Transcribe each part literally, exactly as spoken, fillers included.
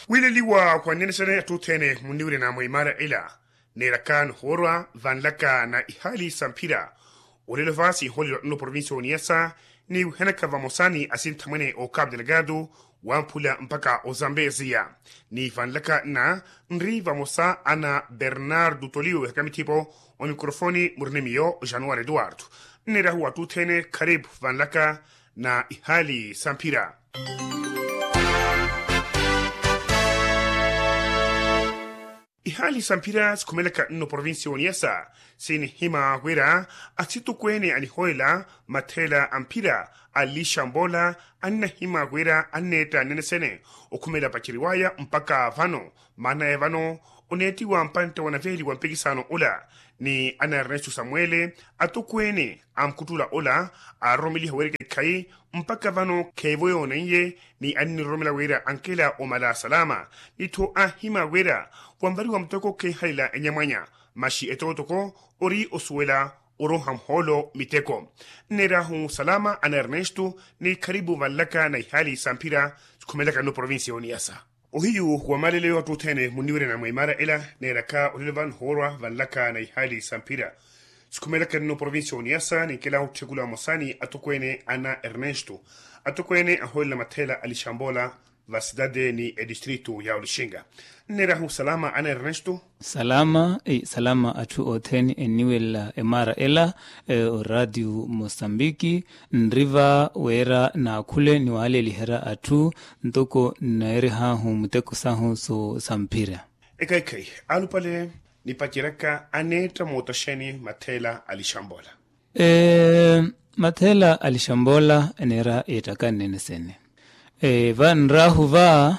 Wiileliwa wa nnenexene atthu othene munniwirina mwa imaara ela, neeraka nihoorwa vanlaka na ihaali sa mphira. Olelo va sinhoolelo nno provincia oniyasa ni wihanaka vamosa ni asinthamwene o capu delgado, wamphula mpakha ozambeziya. Ni vanlaka nna nri vamosa ana bernardo tolio ehaka mithipo. Omikrofoni murini miyo januari eduardo. Nneerahu atthu othene kharipu vanlaka na ihaali sa mphira. Ihaali sa mphira sikhumelaka nno provincia oniyasa sinihima wira asitukweene anihoolela matheela a mphira a lixambola annahima wira anneetta nnene sene okhumela paceriwaya mpakha vano. Maana ya vano oneettiwa mpantte wa naveeli wa mpikisano ola ni ana ernesto samuele atukweene a mkhuttula ola aaroromeliha wira ekhayi mpakha vano kheivo yooneiye ni anniromelela wira ankela omala salama. Nitthu anhima wira wanvariwa muteko kheehalela enyamwanya maxi etootoko ori osuwela oroha muhoolo miteko. Nneerahu salama ana ernesto ni kharipu vanlaka na ihaali sa mphira sikhumelaka nno provincia oniyasa. Ohiyu wa maaleleyo atthu othene munniwirina mwa imaara ela neeraka olelo va nihoorwa vanlaka na ihaali sa mphira sikhumelaka nno provincia oniyasa ninkelahu otthekula vamosa ni atukweene ana ernesto atukweene ahoolela matheela a lixambola va sitade ni edistritu ya olixinga. Nneerahu salama ana ernesto. Salama salama atthu othene enniwelela emaara ela, oraatiyo mosambiki nriva wira naakhule niwaaleliherya atthu ntoko nneerihaahu muteko sahu sa mphira. Ekhayi-khayi alupale nipaceryaka aneetta mootaxeni matheela a lixambola. Matheela a lixambola eneera eettaka nnene sene. Vanraahu va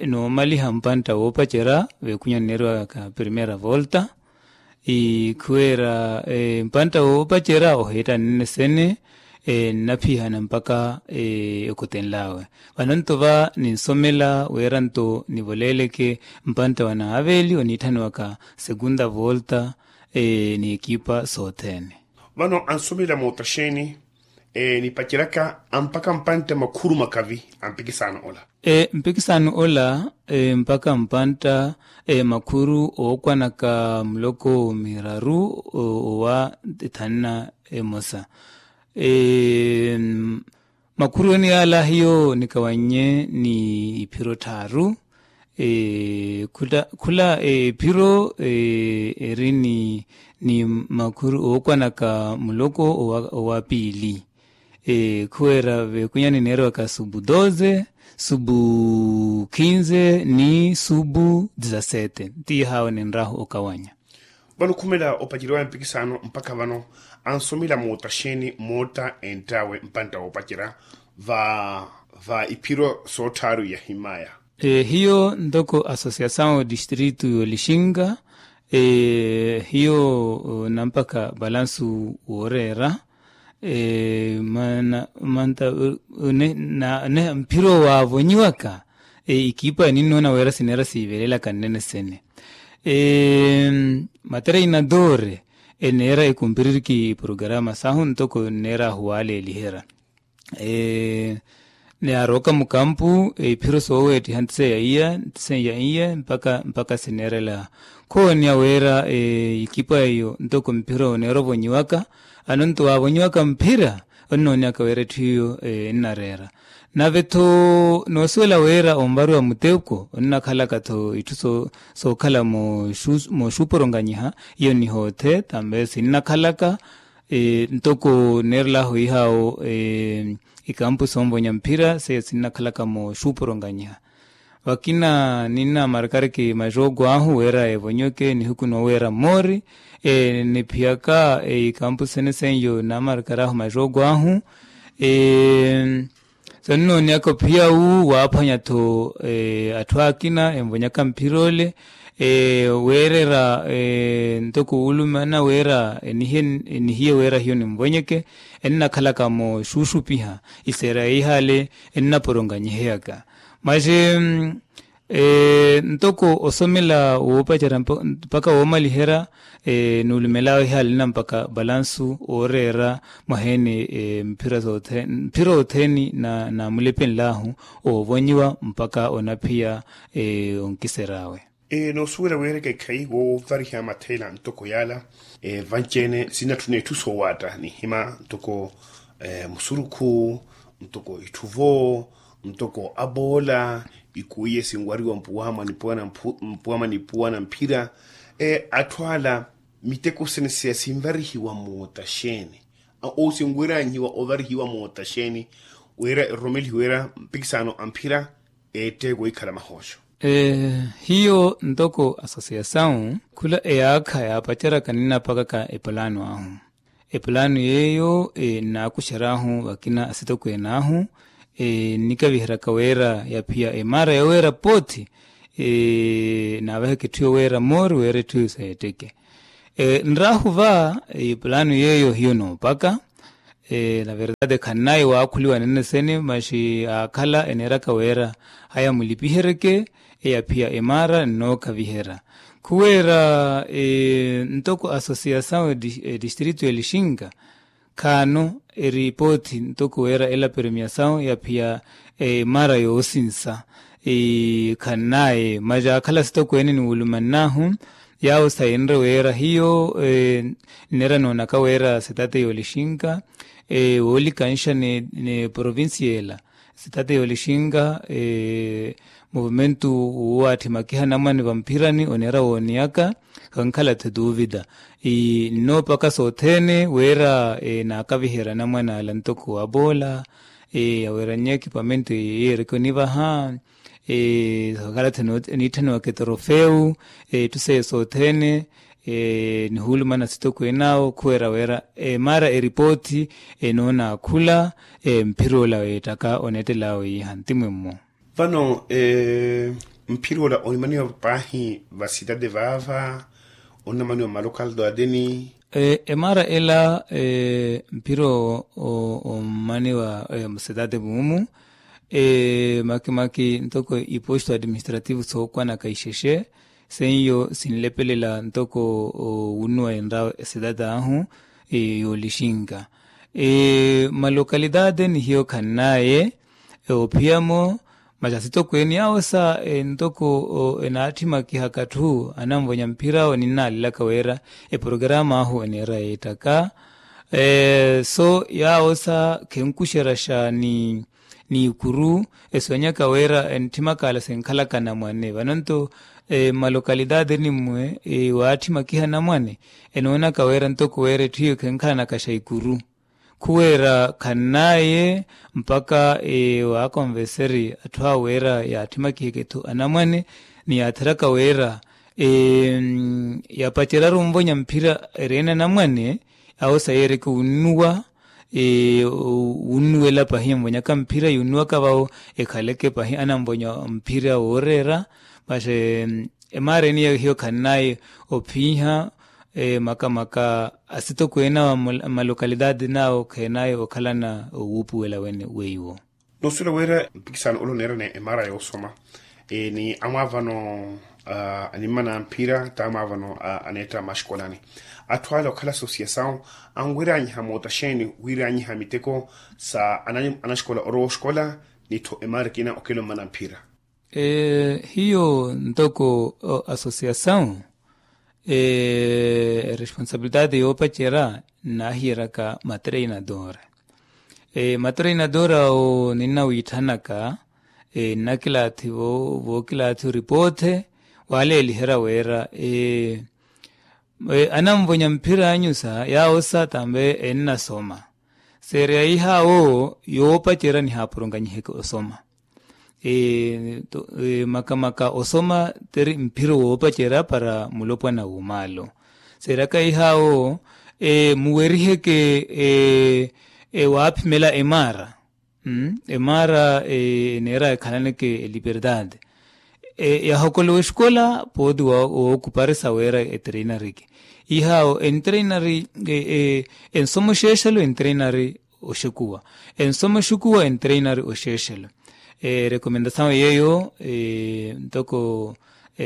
noomaliha mpantta woopacerya veekunya nneeriwaka primeira volta. Khuweera mpantta woopacerya oheetta nnene sene nnaphihana mpakha okotenl'awe. Vano nto va ninsomela wira nto nivoleeleke mpantta wa naaveeli oniitthaniwaka segunda volta ni ekipa sothene. Vano ansomela mootaxeni nipaceryaka mpakha mpantte makhuru makavi a mpikisano ola. Mpikisano ola mpakha mpantta makhuru ookwanaka muloko miraru owa thanna emosa. Makhuru ene yaala hiyo nikawannye ni iphiro tthaaru. Khula ephiro eri ni makhuru ookwanaka muloko owa piili. Khuweera veekunyani neeriwaka subu doze, subu kinze ni subu dizasete ntiihawe ninraahu okawanya. Vano khumela opaceriwaya mpikisano mpakha vano ansomela mootaxeni mootta enttawe mpantta woopacerya va iphiro soottharu yahimaya. Hiyo ntoko asosiasawu distritu y'olixinga hiyo nampakha valansu wooreera. Maana mphiro waavonyiwaka ekipa ninnoona wira sineera siivelelaka nnene sene. Matreinadore eneera ekumpiririki programa sahu ntoko nneera ahuwaleeliherya. Ni arooka mukampu iphiro sooweettiha ntiseya iya ntiseya iya mpaka sineerela. Khoonya wira ikipa iyo ntoko mphiro neera ovonyiwaka. Ano nto waavonyiwaka mphira onnoonyaka wira etthu iyo ennareera. Nave-tho noosuwela wira onvariwa muteko onnakhalaka-tho itthu sookhala mooxuuporonganyiha iyo nihoothe tambe sinnakhalaka. Ntoko nneerel'ahu wihaawo ikampu soonvonya mphira seiya sinnakhalaka mooxuuporonganyiha. Vakina ninnamarkariki majooko ahu wira evonyeke nihuku nooweera mmoori niphiyaka ikampu sene seiyo nnamarkar'ahu majooko ahu. Sonnooniyaka ophiya wu waaphwanya-tho atthu akina envonyaka mphira ole weerera ntoko wuulumana wira enihiye wira hiyo ninvonyeke ennakhalaka mooxuxupiha iseera eihale ennaporonganyiheyaka. Masi Ntoko osomela woopacerya mpaka woomaliherya, nuulumel'awe ihaali nina mpaka balansu ooreera mwaheeni mphira othene na mulepenl'ahu oovonyiwa mpaka onaphiya onkisery'awe. Noosuwela wira ekeekhayi woovariha matheela ntoko yaala, vanci-ene sinatthuna itthu soowaatta nihima ntoko musurukhu, ntoko itthuvo, ntoko aboola, ikuwiye sinwariwa mpuwa mwa nipuwa na mphira. Atthu ala miteko sene siya sinvarihiwa moota xeeni? Ou sinwiranyihiwa ovarihiwa moota xeeni wira eroromelihiwe wira mpikisano a mphira eetteeke wikhala mahooxo? Hiyo ntoko asosiyasawu khula eyaakha yaapaceryaka ninapakaka epulaano ahu. Epulaano yeeyo nnaakuxery'ahu vakina asitokwene ahu nnikaviheryaka wira yaphiya emaara yoweera poothi. Naavaheke etthu yoweera moori wira etthu seetteke. Nraahu va epulaano yeeyo hiyo noopaka. Na verdade khannaye waakhuliwa nene sene maxi aakhala eneeraka wira haya mulipiheryeke eyaphiya emaara nnookaviherya. Khuweera ntoko asosiyasawu edistritu ya lixinka khaano eripoothi ntoko wira ela permiyasawu yaphiya emaara yoosinsa. Khannaye maxi aakhala asitokweene niwulumann'ahu yaawo sayenre wira hiyo nneera noonaka wira sitaate yoolixinka woolikanxa ni provincia ela sitaate yoolixinka movimentu wuwaatthi makiha anamwane vamphirani oneera wooniyaka. Khankhala-tho tuuvita nnoopaka sothene wira naakaviherya anamwane ala ntoko aboola aweeranye ekipamento yeereke onivaha. Khankhala-tho niitthaniwaka etrofeu etthu seiyo sothene nihuulumana sitokweene awo khuweera wira emaara eripoothi enoonaakhula mphira ola weettaka oneettel'awe iiha ntimwemmo. Vano mphira ola onimaniwa paahi vasitade vaava onamaniwa malokalidade ni emaara ela mphira ommaniwa musitade muumu makimaki ntoko iposto administrativo sookwanaka ixexe seiyo sinlepelela ntoko wunnuwa enra esitade ahu yoolixinka malokalidade ni hiyo khannaye ophiyamo. Masi asitokweene yaawo sa ntoko enaatthi makihaka atthu ananvonya mphira awo ninnaalelaka wira eprogramu ahu eneera yeettaka so yaawo sa khenkuxeraxa ni n'ikuru eswenyaka wira entthimakaala senkhalaka anamwane vano nto mmalokalitati nimmwe waatthi makiha anamwane enoonaka wira ntoko wira etthu iyo khenkhalanakaxa ikuru khuwira khannaye mpaka waakonveseri atthu awo wira yaatthi makiheke-tho anamwane ni yaatheraka wira yapaceryaru onvonya mphira ereene anamwane awo sayeereke wunnuwa wunnuwela pahi envonyaka mphira yuunnuwaka vawo ekhaleke pahi ananvonya mphira wooreera. Masi emaara eniya hiyo khannaye ophiiha makamaka asitokweene awo mmalokalitati nawo kheenaye okhalana owuupuwela weiwo. Noosuwela wira mpikisano ole oneerani emaara yoosoma ni amwaavano animma na mphira t'amwaavano aneetta maxkolani atthu ale okhala asosiyasawu anwiranyiha moota xeeni wiranyiha miteko sa anaxikola orowa oxikola ni-tho emaara ekina okela ommana mphira. Hiyo ntoko asosiyasawu eresponsabilitati yoopacerya nnaahiyeraka matreinadora matreinadora awo ninnawiithanaka nnakilaathi vookilaathi oripoothe waaleeliherya wira ananvonya mphira anyusa yaawo sa tambe ennasoma seereya ihawo yoopacerya nihaapurunganyiheke osoma makamaka osoma tiri mphiro woopacerya para mulopwana woomaalo seeraka ihawo muweriheke waaphimela emaara emaara eneera ekhalaneke eliperdade yahokolowa exikola pooti wookuparisa weera etreinariki ihawo entreinari ensoma oxeexelo entreinari oxekuwa ensoma oxekuwa entreinari oxeexelo Erekomendasawu yeeyo ntoko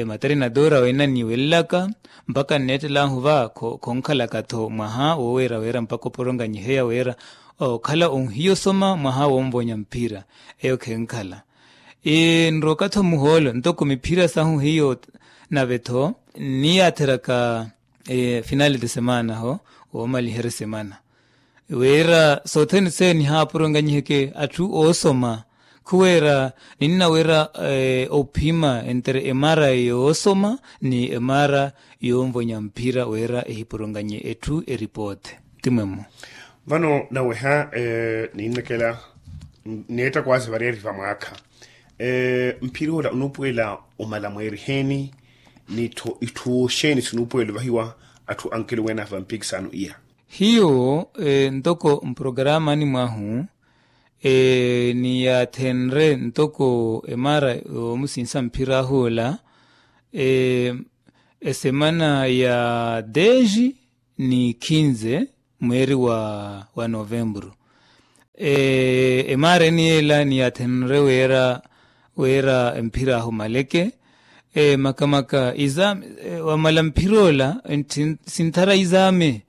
materinadora wena niwelelaka mpaka nneettelaahu va khonkhalaka-tho mwaha woweera weera mpaka oporonganyiheya weera okhala onhiya osoma mwaha wonvonya mphira. Eyo khenkhala nroka-tho muhoolo ntoko miphira sahu hiyo nave-tho nniyaatheraka finale de semana ho woomaliherya esemana wira sothene seye nihaapurunganyiheke atthu oosoma khuwira ninna wira ophima entre emara yoosoma ni emara yoonvonya mphira wira ehipurunganye etthu eripoote. Timwemmo vano naweha ninnakela neetta kwaazi variyari vamwaakha mphira ola onuupuwela omala mweeriheeni nitthu itthu oxeeni sinuupuwela ovahiwa atthu ankelo wena vampikisano iya. Hiyo ntoko mprogaramani mwahu niyaathenre ntoko emara yoomusinsa mphira ahu ola esemana ya dez ni kinze mweeri wa novembru. Emaara eni yeela niyaathenre wira wira mphira ahu maleke makamaka wamala mphira ola sinthara izaame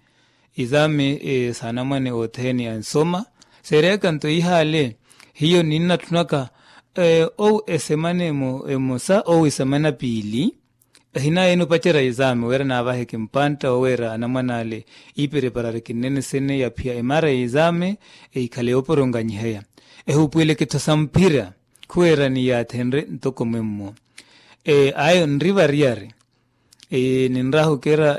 izaame saanamwane othene ansoma seereyaka nto ihaale hiyo ninnatthunaka owu esemana emosa owu esemana piili ehinaya ene opacerya izaame wira naavaheke mpantta woweera anamwane ale iipereparareke nnene sene yaphiya emaara ya izaame ehikhale yooporonganyiheya ehupuweleke-tho sa mphira khuwira niyaathenre ntoko mwemmo. Ayo nri variyari ninrahu kira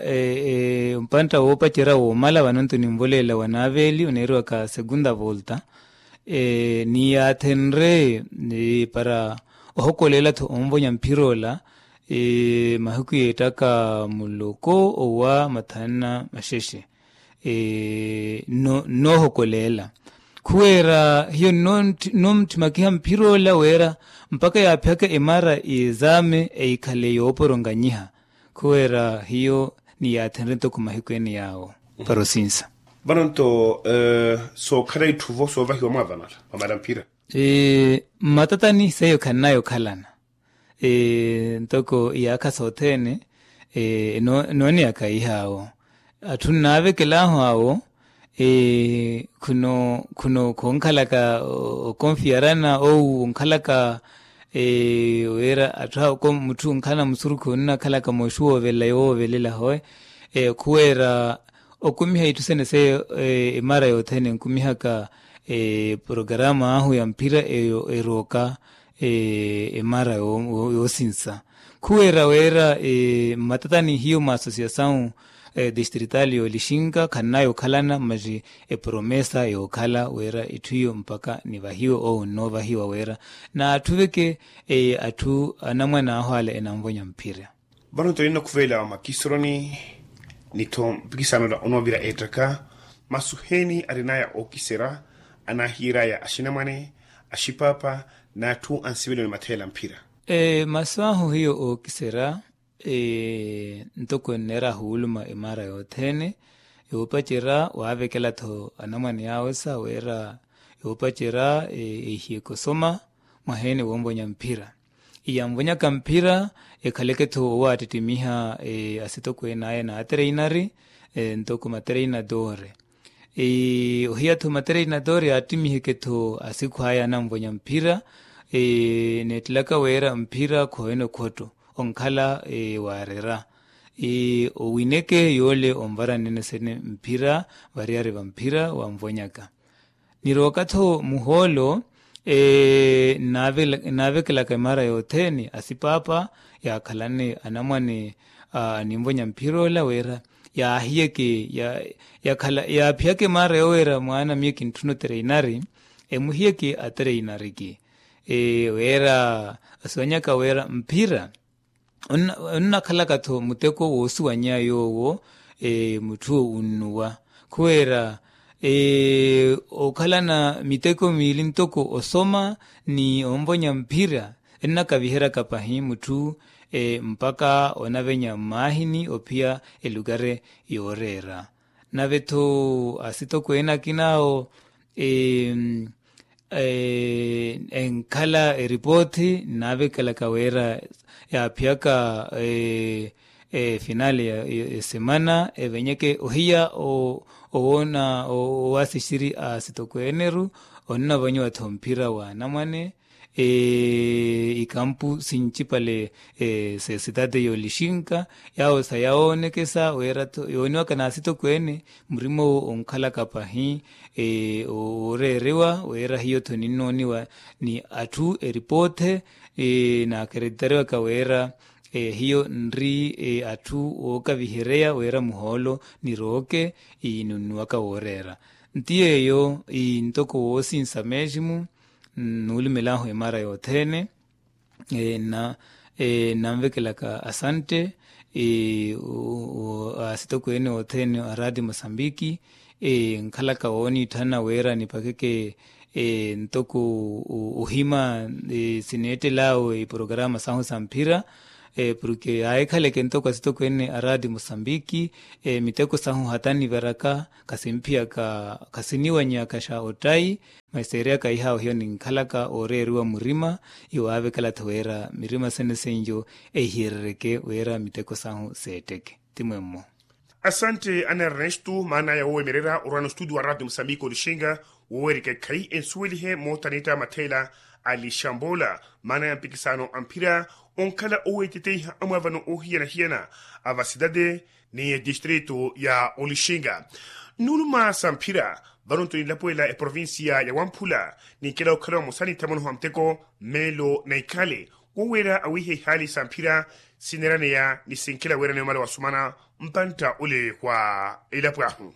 mpantta woopacerya woomala vano nto ninvoleela wa naaveeli oneeriwaka segunda volta niyaathenre para ohokoleela-tho onvonya mphira ola mahiku yeettaka muloko owa mathanu na maxexe nnoohokoleela khuwira hiyo nnoomuthimakiha mphira ola wira mpakha yaaphiyaka emaara y'ezaame ehikhale yooporonganyiha khuwira hiyo niyaathenre ntoko mahiku ene yaawo para osinsa. Vano nto sookhala itthu-vo soovahiwa mwaavano ala wamala mphira mmatatani seiyo khannayo okhalana ntoko iyaakha sothene nooneyaka ihaawo atthu nnaavekel'ahu awo khunoonkhalaka okonfiyarana ou onkhalaka wira atthu awo mutthu onkhalana musurukhu onnakhalaka mooxuwoovelela yowoovelela hoe khuwira okumiha itthu sene seiyo emaara yothene enkumihaka eprogarama ahu ya mphira eyo erooka emaara yoosinsa khuwira wira mmatatani hiyo mwa asosiyasawu distritali yoolixinka khannayo okhalana masi epromesa yookhala wira itthu iyo mpakha nivahiwe owo nnoovahiwa wira naatthu veke atthu anamwane ahu ale enanvonya mphira. Vano nto ninnakhuvelela wa makisoroni ni-tho mpikisano ola onoovira eettaka masu heeni arinaya ookiserya anaahiyeraya axinamwane axipapa n'atthu ansiveleni matheela mphira. Masu ahu hiyo ookiserya ntoko enneera ahuuluma emaara yothene yoopacerya waavekela-tho anamwane awe sa wira yoopacerya ehiyeke osoma mwaheene woonvonya mphira iyanvonyaka mphira ekhaleke-tho owaattittimiha asitokweene aya n'atereinari ntoko matereinadore ohiya-tho matereinadore yaattimiheke-tho asikhu aya ananvonya mphira neettelaka wira mphira khohene okhotto onkhala waarera owineke yoole onvara nnene sene mphira variyari va mphira wanvonyaka nirooka-tho muhoolo nnaavekelaka emaara yothene asipaapa yaakhalane anamwane aninvonya mphira ola wira yaahiyeke yaaphiyaka emaara yooweera mwaana miyo kintthuna otereinari emuhiyeke atereinariki wira asiwanyaka wira mphira onnakhalaka-tho muteko woosuwanyeya yoowo mutthu onnuwa khuwira okhalana miteko miili ntoko osoma ni onvonya mphira ennakaviheryaka pahi mutthu mpakha onavenya mmaahini ophiya elukari yooreera nave-tho asitokweene akina awo enkhala eripoothi nnaavekelaka wira yaaphiyaka efinale ya esemana evenyeke ohiya owoona owaasixiri a asitokweeneru onnavanyiwa-tho mphira wa anamwane ikampu sinci-pale sesitate y'olixinka yaawo sayawoonekesa wira-tho yooniwaka n'asitokweene murima owo onkhalaka pahi ooreeriwa wira hiyo-tho ninnooniwa ni atthu eripoothe n'akeretitariwaka wira hiyo nri atthu ookavihereya wira muhoolo nirooke ninunnuwaka wooreera nti yeeyo ntoko woosinsa meeximu nnuulumel'ahu emara yothene nnanvekelaka asante asitokweene othene a raati mosambiki nkhalaka wooniitthana wira nipakeke ntoko ohima sineettel'awe iporokarama sahu sa mphira porke yaahikhaleke ntoko asitokweene a raati mosambiki miteko sahu hata niveraka khasimphiyaka khasiniwanyaka xa ottayi masi seeriyaka iha ohiyo ninkhalaka ooreeriwa murima iwaavekela-tho wira mirima sene senjo ehiyerereke wira miteko sahu seetteke ti mwemmo. Asante ana ernesto maana ya wowemererya orwana ostudio wa radio mosambiki olixinga woweerika ekhayi ensuwelihe moottanitta matheela a lixambola maana ya mpikisano a mphira onkhala oweeteteiha amwaavano oohiyana-hiyana a vasidade ni etistrito ya olixinga nnuuluma sa mphira vano nto ninlapwelela eprovincia ya wamphula ninkela okhala vamosa ni nthamonoho a muteko mmeelo na ikhale woweera awiiha ihaali sa mphira sineeraneya ni sinkela weeraneya omala wasumana mpantta ole wa elapo ahu